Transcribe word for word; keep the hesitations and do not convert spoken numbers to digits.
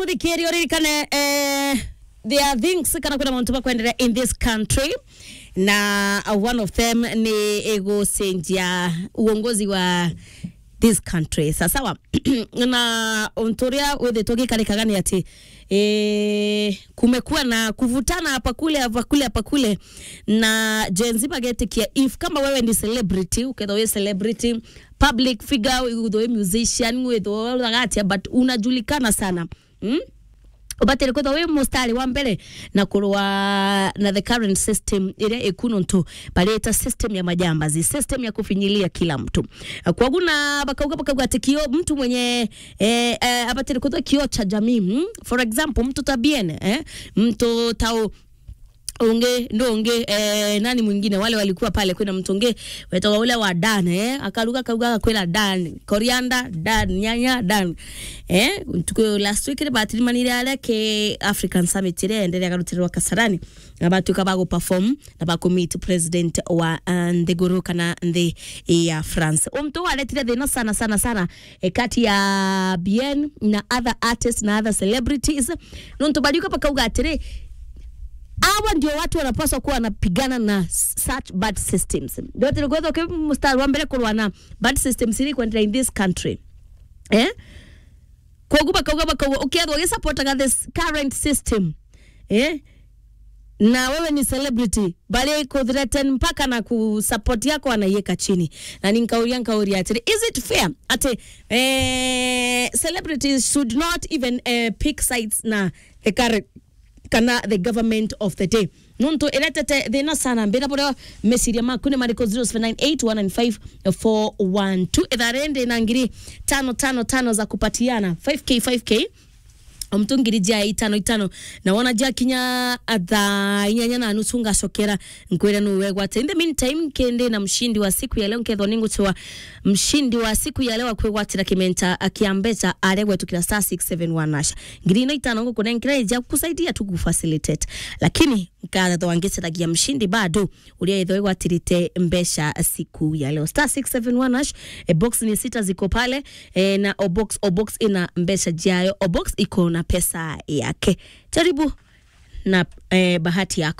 Muthikiri, uririkane, eh, there are things kana kuna mauntu makwenderea in this country, na, uh, one of them ni igucenjia uongozi wa this country. Sawa sawa. Na untu uria withitwe gikarikaga ni ati, eh, kumekuwa na kuvutana hapa kule, hapa kule, hapa kule, na Gen Z bagetikia, if kama wewe ni celebrity, ukethwa wi celebrity, public figure, withwe wi musician, withwe uraga atia, but unajulikana sana. Mm? Ubatire kwithwa wi mustari wa mbere na kurwa na the current system iria iku nontu barita system ya majambazi, system ya kufinyilia kila mtu. Kwogu na bakauga, bakauga ati kio mtu mwenye, eh, eh, abatire kwithwa kio cha jamii. Mm? For example, mtu ta Bien, eh? Mtu ta u-, ungi, ndo ungi, eh, nani mwingine, wale walikuwa pale, kwina mtu ungi wetagwa ule wa Dan, eh, akaruga, akauga, akakwira Dan, coriander, Dan, nyanya, Dan. Eh, tuko last week ni batirimanire aria ki African Summit iria enderea garutirwa Kasarani, na batuika ba guperform na ba kumeet president wa, uh, nthiguru kana nthi ya France. Untu waretire thina sana, sana, sana, eh, kati ya Bien na other artists na other celebrities. Nontu bariuka bakauga atiri, hawa ndio watu wanapaswa kuwa wanapigana na s-, such bad systems. Ndio tiri kwethwa ki mustari wa mbere kurwa na bad systems ili kuendelea in this country. Eh? Kwogu bakauga, bakauga, ukethwa ugisupportaga this current system, eh? Na wewe ni celebrity, bari kuthreaten mpaka na ku support yako anaiweka chini. Na ni nkauria, nkauria atiri, is it fair ati, eh, celebrities should not even, eh, pick sides na the current kana the government of the day? Nontu iretete thina sana. Mbira buria meciria maku ni mariku? Zero seven nine eight one nine five four one two. Ithare ndi na ngiri tano tano tano za kupatiana, five K, five K. O mtu ngiri ja itano itano. Na wona jakinya thaa inyanya na nusu ngacokera nkwire nu wegwate. In the meantime, kindi na mshindi wa siku ya leo, nkethwa ninguchwa mshindi wa siku ya leo akwigwatira kimenta kia mbecha aria gwetukira star six seven one hash. Ngiri ino itano ngukunenkira ija kusaidia tu kufacilitate. Lakini nkathwa ngicaragia mshindi bado uria ethwa igwatirite mbecha siku ya leo. Star six seven one hash, eh, box ni sita ziko pale, eh, na o box, o box ina mbecha jayo, o box iko na pesa yake. Jaribu na, eh, bahati yako.